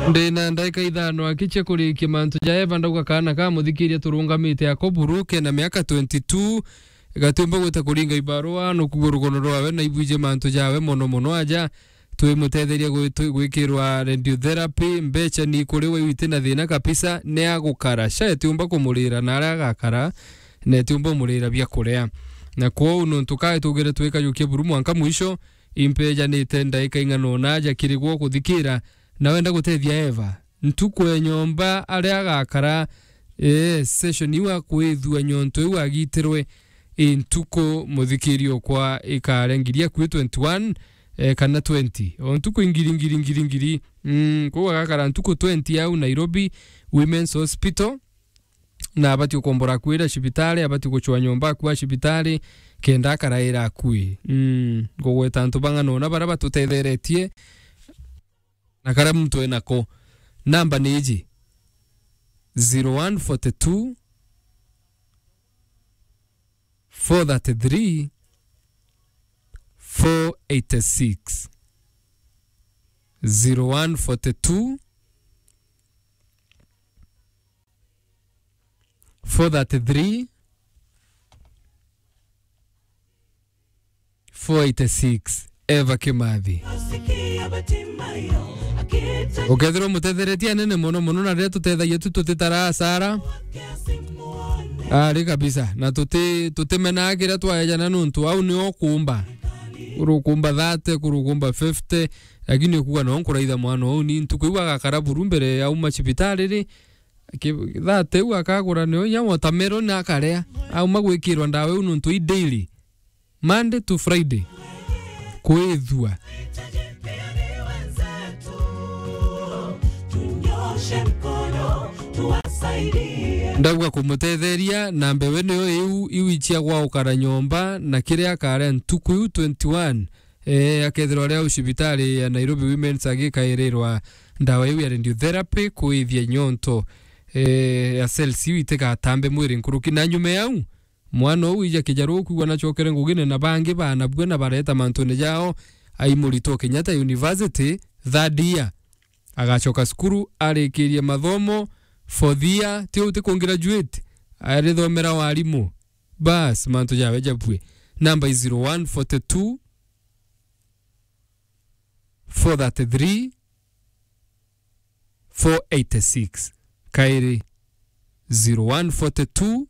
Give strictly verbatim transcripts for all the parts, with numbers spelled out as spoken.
Ndina ndaika ithano aki cia kurikia mantu ja Eva, ndauga kaana ka muthikiria turungamite ako buru, kena miaka twenty-two, gatiumba gwita kuringa ibarua, nukugua rugono rwawe na ibwije mantu jawe mono mono aja. Twimutetheria gwitu-, gwikirwa radiotherapy, mbeca ni kuri we witi na thina kabisa, ni agukara. Sha itiumba kumurira na aria agakara, na itiumba umurira bia kuria. Na kwou nontu kae tugire twikajukia buru mwanka mwisho, impejanite ndaika ing'ana ona aja kiri gwo kuthikira, na wenda gutethia Eva. Ntuku e nyomba aria agakara, ee, session iu akwithua nyonto iu agitirwe, i ntuku muthikiri okwa ikare ngiri akui twenty-one, ee, kana twenty. O ntuku ingiri, ngiri, ngiri, ngiri. Mm, kwou agakara ntuku twenty au Nairobi Women's Hospital, na abati ukombora akuira cibitari, abati gucwa nyomba akua cibitari, kenda akaraira akui. Mm, ngugweta antu bang'ana ona baria batutetheretie, na karia muntu enako. Namba ni iji: zero one forty two, four thirty three, four eighty six. Zero one forty two, four thirty three, four eighty six. Eva Kimathi. Ukethirwa mutetheretie anene mono mono, na riria tutethagia tu tutitaraa asara. Ari kabisa. Na tuti-, tutimenaa kiria twaejana nontu au nio ukumba. Kuru ukumba thirty, kuru ukumba fifty, lakini ukuga no nkuraitha mwana uu ni ntuku iu agakara buru mbere auma cibitari ri, Ki-, thirty u akagura nio inya watermelon akaria. Auma gwikirwa ndawa iu nontu i daily. Monday to Friday. Kwithua. Ndauga kumutetheria, na mbewe nio iu, iu icia gwa ukara nyomba, na kiria akaria ntuku iu twenty-one. Eh, akethirwa ari au cibitari ya Nairobi Women's agikairirwa ndawa iu ya radiotherapy kuithia nyonto, eh, ya cells iu itigatambe mwiri nkuruki. Na nyuma yau, mwana uu ija kijaru ukwigua nacokere ngugine na bangi baana bue na bareta mantune jao, ai Murito Kenyatta University, third year. Agacoka cukuru, arikirie mathomo, fourth year, ti uu ti ku graduate, arithomera warimu. Bas, mantu jawe jabue. Namba i zero one forty two, four thirty three, four eighty six. Kairi, zero one forty two,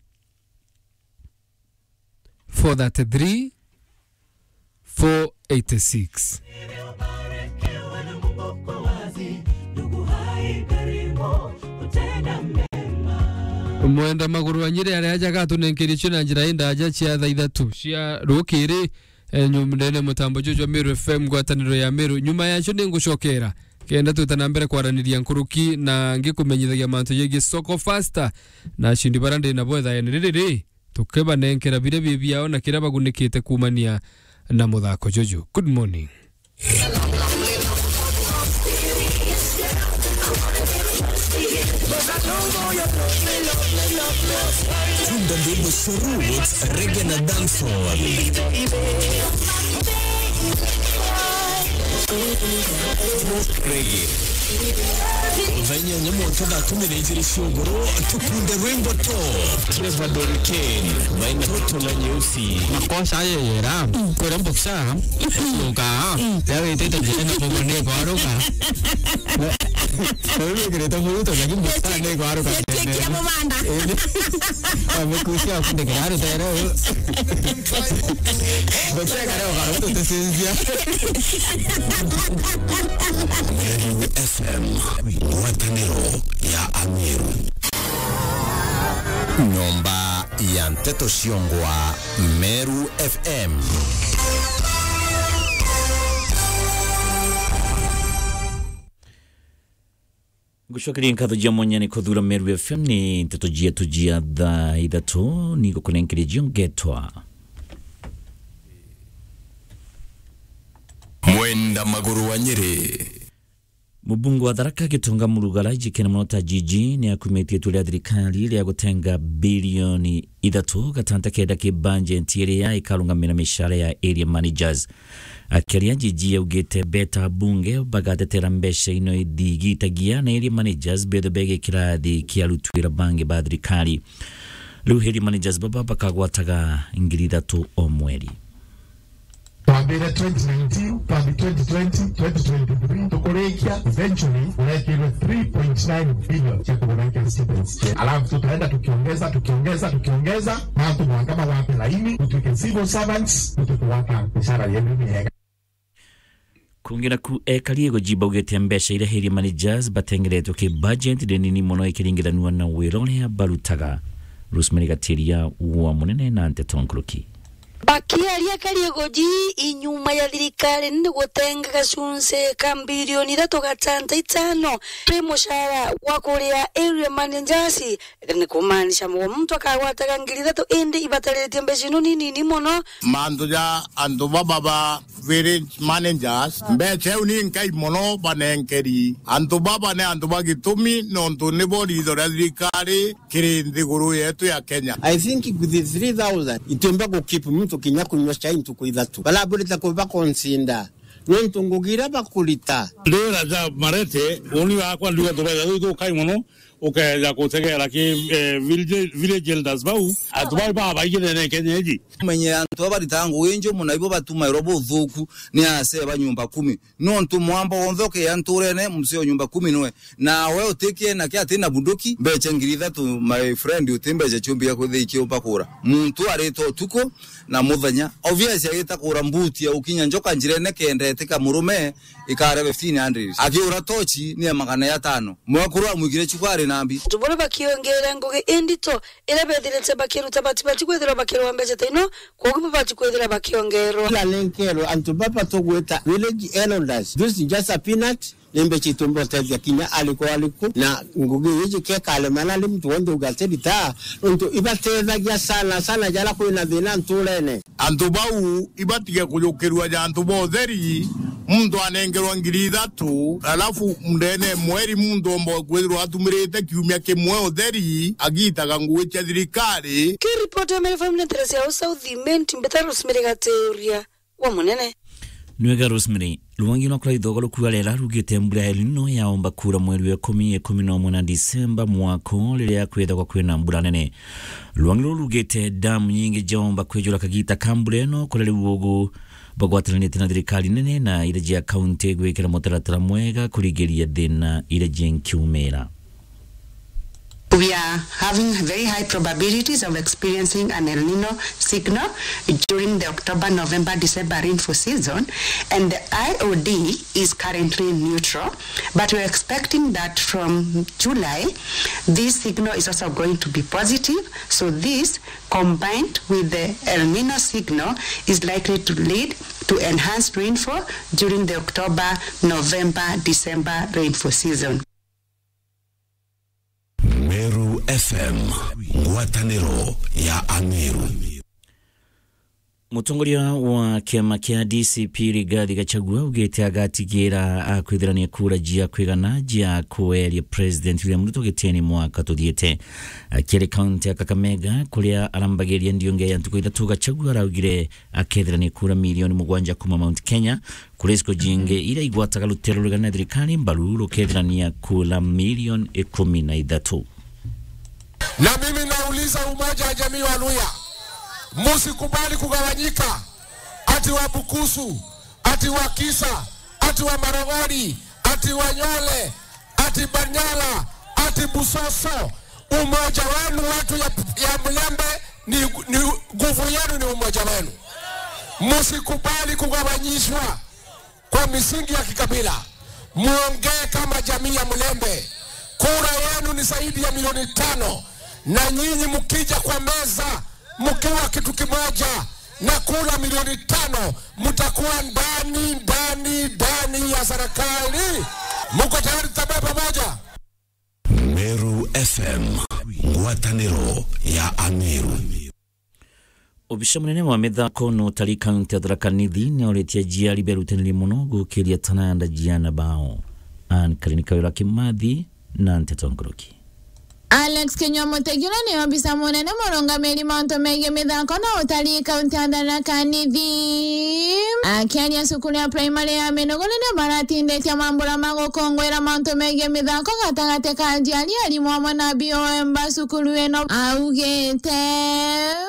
four thirty three, four eighty six. Mwenda Maguru wa Nyeri aria aja gatunenkerie cio na njira indaja cia thaa ithatu cia rukiri. Eh, nyum-, ndene mutambo juju jwa Meru F M, ngwataniro ya Meru. Nyuma yacio ni ngucokera kenda twita na mbere kwaraniria nkuruki na ngikumenyithagia mantu jegii soko faster na acindi baria ndi nabo ithaene riri ri, tukibanenkera biria bi biao na kiria bagunikite kuumania na muthako juju. Good morning. Tunda ndwimbo cia roots, reggae na dancehall. Reggae. Thaa inyanya mwanka thaa kumi na ijiri cia ugoro, tukunde rwimbo to. Trevor Doriken, maina toto na nyeusi. Makosa ayo yera, kwera mboksa, yoka, ya wetete njira na bobo ni kwaruka. Wewe kireta muruto, lakini mboksa ni kwaruka. Chekia mubanda. Amekusia kunde kiraru tero. Mboksa kare kwa ruto tesinzia. Meru F M, ngwataniro ya Ameru. Nyomba ya nteto ciongwa Meru F M. Ngucokeria nkatho jia mwanya ni kuthura Meru F M, ni nteto jietu jia thaa ithatu, ni ngukunenkeria cio ngetwa Mwenda Maguru wa Nyeri. Mubunge wa Tharaka Gitonga Murugara, ijikene mono ta Gigi, ni akumitie itua ria thirikari ria gutenga bilioni ithatu gatanta kenda ki bajeti iria ikarungamira micara ya area managers. Akiaria, Gigi augite beta bunge bagatetera mbeca ino ithigitagia na area managers betho bege kirathi kia aruti wira bangi ba thirikari. Riu area managers baba bakagwataga ngiri ithatu o mweri. Twambire twenty nineteen, twambi twenty twenty, twenty twenty-three, tukurikia, eventually urekirwe three point nine billion cia kugura cia students. Alafu tutaenda tukiongeza, tukiongeza, tukiongeza, na antu mwanka magwate laini, tutuike civil servants, tutuike gwata mishara yetu miega. Kungi naku, ekari igoji baugite mbeca iria area managers batengeretwe ki budget ni nini mono ikiringithanua na wira uria barutaga. Rosemary Gatiria wa Munene na nteto nkuruki. Bakiaria, ekari igoji inyuma ya thirikari ni gutenga gacunci ka bilioni ithatu gatanta itano kiri mucara wa kuria area managers, ni kumaanisha mugwa muntu akagwataga ngiri ithatu, indi ibatariritie mbeca ino ni nini mono. Mantu ja antu baba ba village managers, mbeca iu ni nkai mono banenkeri. Antu baba ni antu ba gitumi, nontu nibo riitho ria thirikari kiri nthiguru yetu ya Kenya. I think with the three thousand, itiumba gukeep muntu kinya kunywa chai ntuku ithatu. Baraburite kuba consider, nontu ngugi iria bakurita. Ndira ja Marete, uni wakwa ndiuga tubeza tuthukai mono, ukeja gutegera ki, eh, village, village elders bau, antu bau babaingi nene Kenya iji. Menye antu aba baritaga ngugi njumu na ibo batumairwa buthuku ni asee ba nyumba kumi. Nontu mwamba wonthe ukea nturene, msee o nyumba kumi nwe. Na we utikie nake ati na bunduki, mbeca ngiri ithatu, my friend, uti mbeca ciumbi ya kwithia ikiumba kura. Muntu arita utuku na muthenya. Obvious agita kura mbuti ya ukinya njoka njirene kenda itika murume ikare fifteen hundred. Akiura tochi ni ya magana ya tano. Mwekuru amwigire chuka ari na mbi. Antu baria bakiongera ngugi indito iria bethirite bakiruta batibati kwithirwa bakirwa mbeca ta ino, kwogu babati kwithirwa bakiongerwa. Ila lenkerwa antu baba tugwita village elders. This is just a peanut. Ni mbeca itumba utethia kinya ariku ariku, na ngugi iji kekale mana ni muntu wonthe ugatirita, nontu ibatethagia sana sana jara kwina thina nturene. Antu bau ibatige kujukirua ja antu ba utheri, muntu anengerwa ngiri ithatu, alafu ndene mweri muntu omba kwithirwa atumirite kiumia kimwe utheri, agitaga ngugi cia thirikari. Kiripoti ya Meru F M ni Teresia au South Imenti, mbeta Rosemary Gatiuria wa Munene. Nwega Rosemary, rwangi no kura ithogo rukua rera rugite mbura ya El Nino yaomba kura mweri wa ikumi, ikumi na umwe na Disemba mwaka uu, riria kwithagwa kwina mbura nene. Rwangi ruru rugite damu nyingi jaomba kwijura kagita ka mbura ino, kuria riu ugu bagwatanitie na thirikari nene na iria jia kaunti gwikira mutaratara mwega kurigiria thina iria jinkiumira. We are having very high probabilities of experiencing an El Nino signal during the October-November-December rainfall season, and the I O D is currently neutral, but we're expecting that from July, this signal is also going to be positive. So this, combined with the El Nino signal, is likely to lead to enhanced rainfall during the October-November-December rainfall season. Meru F M, ngwataniro ya Ameru. Mutongoria wa kiama kia D C P Rigathi Gachagua augite agatigira akwithirania kura jia kwigana jia kweria President William Ruto gitini mwaka tuthiite. Akiaria kaunti ya Kakamega, kuria arambagiria ndiunge ya ntuku ithatu, Gachagua araugire akethirania kura milioni mugwanja kuma Mount Kenya, kuri icigo jingi iria igwataga ruteere rurigania na thirikari mbaru rukethirania kura milioni ikumi na ithatu. Na mimi nauliza umoja wa jamii wa Luhya, msikubali kugawanyika, ati wa Bukusu, ati wa Kisa, ati wa Marogori, ati wa Nyole, ati Banyala, ati Busoso. Umoja wenu watu ya, ya Mlembe ni, ni nguvu yenu, ni umoja wenu. Msikubali kugawanyishwa kwa misingi ya kikabila. Muongee kama jamii ya Mlembe. Kura yenu ni zaidi ya milioni tano, na nyinyi mkija kwa meza mkiwa kitu kimoja na kura milioni tano, mtakuwa ndani, ndani, ndani ya serikali. Mko tayari tutembee pamoja? Meru F M, ngwataniro ya Ameru. Obisa munene wa mithako na utari kaunti ya Tharaka Nithi niauritie aciari berutanire mono gukiria talanta cia aana bao. Ann Karinika Wira Kimathi na nteto nkuruki. Alex Kinyua Mutegi uria ni obisa munene murungamiri mauntu megii mithako na utari kaunti ya Tharaka Nithi. Akiaria cukuru ya primary ya Minugu riria baratinditie mambura ma gukungwira mauntu megii mithako gatagati ka aciari, arimu amwe na B O M ba cukuru ino, augite,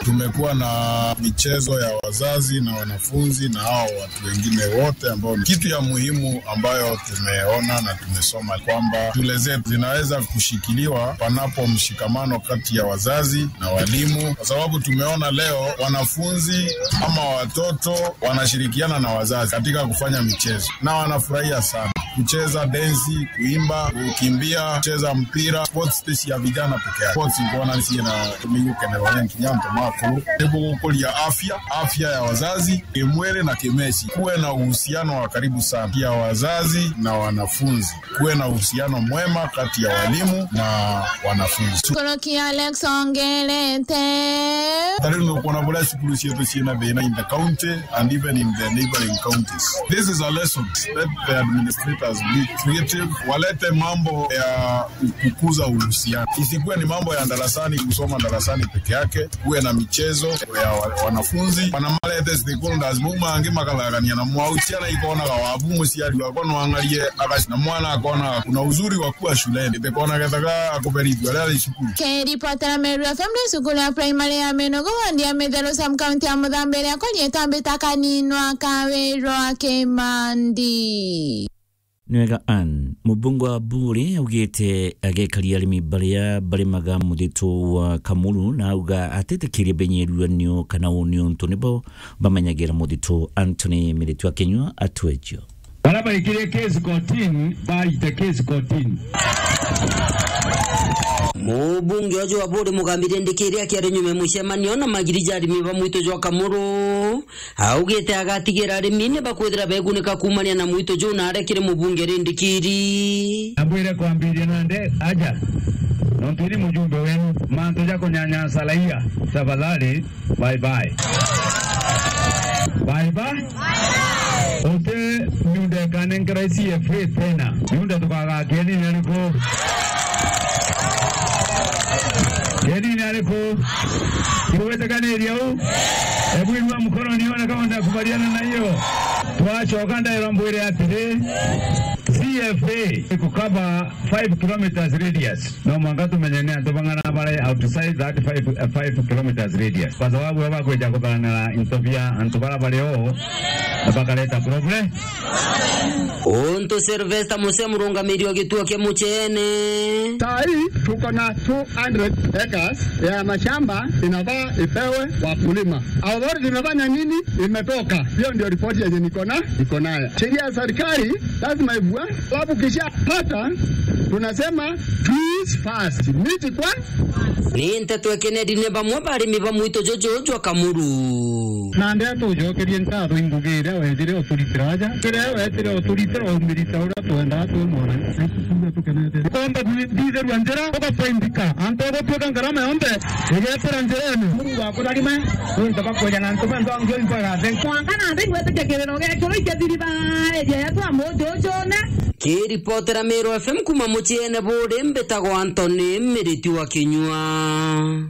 tumekuwa na michezo ya wazazi na wanafunzi na hao watu wengine wote ambao ni kitu ya muhimu ambayo tumeona na tumesoma kwamba shule zetu zinaweza kushikiliwa panapo mshikamano kati ya wazazi na walimu, kwa sababu tumeona leo wanafunzi ama watoto wanashirikiana na wazazi katika kufanya michezo na wanafurahia sana kucheza densi, kuimba, kukimbia, kucheza mpira, sports space ya vijana peke yake. Sports mbona nsi na tumegukenerwa ni nkinya antu makuru. Niguo gukuria afya, afya ya wazazi, kimwili na kimesi. Kuwe na uhusiano wa karibu sana ya wazazi na wanafunzi. Kuwe na uhusiano mwema kati ya walimu na wanafunzi. Nkuruki Alex ongerete. Ta riu ni ukuona buria cukuru cietu ciina thina in the county and even in the neighboring counties. This is a lesson. Let the administrators be creative. Walete mambo ya kukuza uhusiano. Isikuwe ni mambo ya darasani, kusoma darasani peke yake. Kuwe na michezo ya wa-, wanafunzi. Wanamalete stakeholders, bau mangi makathagania na mwau. Ciana ikonaga wabu, muciari wakwa no ang'arie aga-, na mwana akonaga kuna uzuri wa kuwa shuleni. Ndikona gethaga akuberithua riria ari cukuru. Kiripotera Meru F M ni cukuru ya primary ya Minugu, wandi ya Mitheru, sub county ya Muthambi, iria kwa riitwa mbita Kaninwa Kawirwa Kimandi. Ni wega Ann. Mubunge wa Buuri augite agekari arimi baria barimaga muthitu wa Kamuru na auga atitikiria benyeruanio kana uni untu nibo bamenyagira muthitu. Anthony Miritu Akinyua atwejio. Baria baikirie case kotini, baite case kotini. Mubunge uju wa Buuri Mugambi Rindikiri akiaria nyuma ya mucemanio na magiri ja arimi ba mwitu jwa Kamuru, augite agatigira arimi ni bakwithira begunika kuumania na mwitu juu na aria kiri mubunge Rindikiri. Ambwire kwambiria nande aja, nontu ni mujumbe wenu, mantu ja kunyanyasa raia, tafadhali, bye bye. Bye bye. Uti miunda ikanenkerwa C F A tena. Miunda tukagakia nini ariku? Kenini ariku? Kiwete kaniri au? Hebu inua mkono nione kama unakubaliana na hiyo. Twacoka ndaira mbwire atiri, C F A ikukaba five kilometers radius. No mwanka tumenye ni antu bang'ana bari outside that five, uh, five kilometers radius. Kwa sababu aba kwija kutharanira into bia antu bara bari o, bakareta problem. Untu Sylvester Muse, murungamiri wa gituo kia Muchene. Saa hii tuko na two hundred acres ya mashamba inafaa ipewe wakulima. Authority imefanya nini? Imetoka. Hiyo ndio ripoti yenye niko na, niko nayo. Sheria ya serikali lazima ivua, sababu kishapata tunasema trees first, miti kwa. Ni nteto ya Kennedy, ni bamwe ba arimi ba mwitu juju jwa Kamuru. Na ndeto ujokerie nkatho ingugi iria wethire uturitira aja, kiria wetire uturitira umirita uria twendaa twi mwana. Tukomba kuthithirua njira, ugafaindika, antu ugutwika ngarama yonthe igetira njirene. Mungu akutharime, nontu bakweja na antu benthe bangi ointwe gathe. Mwanka na nthi igwitikia kiriro gekuru ikethiriba eria yetu amuthi ujune. Kiripotera Meru F M kuma Muchene Buuri, mbitagwa Anthony Miriti wa Kinyua.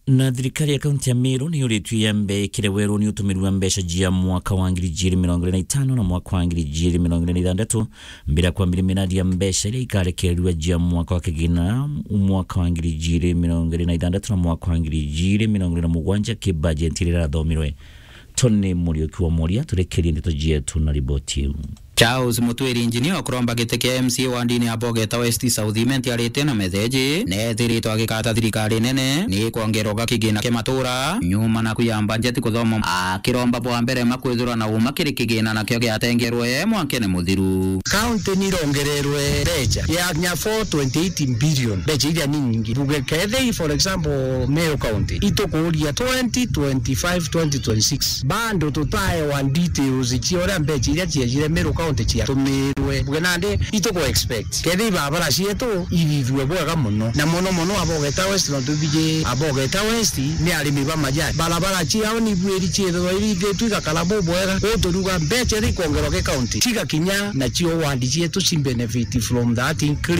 Na thirikari ya kaunti ya Meru ni yuritue yambe ikire weruni utumiri wa mbeca cia mwaka wa ngiri ijiri mirongo iri na itano na mwaka wa ngiri ijiri mirongo iri na ithanthatu, mbere ya kwambiria miradi ya mbeca iria ikarekererua cia mwaka wa kigina mwaka wa ngiri ijiri mirongo iri na ithanthatu na mwaka wa ngiri ijiri mirongo iri na mugwanja ki bajeti iria irathomirwe. Tony Muriuki wa Moria turekerie ndeto cietu na riboti iu. Charles Mutwiri, injinia ukuromba giti kia M C A wandini ya Bogeta West South Imenti, arite na metheji neethiritwe agikata thirikari nene ni kwongerwa ga kigina kia matura nyuma na kuya mbanjeti kuthoma, akiromba bwa mbere ma kwithirwa na uma kiri kigina nakio giatengerwe mwankene muthiru. County ni irongererwe mbeca ya kinya four twenty eight billion, mbeca iria ni nyingi. Tuge kethei, for example, Meru County, itukuuria twenty twenty-five, twenty twenty-six, bado tutaewa details cia uria mbeca iria ciejire Meru County county ciatumirwe. Buge nandi ituku expect. Kethira ibarabara cietu ithithue bwega mono. Na mono mono Abogeta West, nontu biji Abogeta West ni arimi ba majani. Barabara ciao ni bwiri ciithirwa irithitue igakara bubwega. Uu turiuga mbeca iria ikwongerwa ki county, cigakinya nacio ward cietu ci benefit from that increase.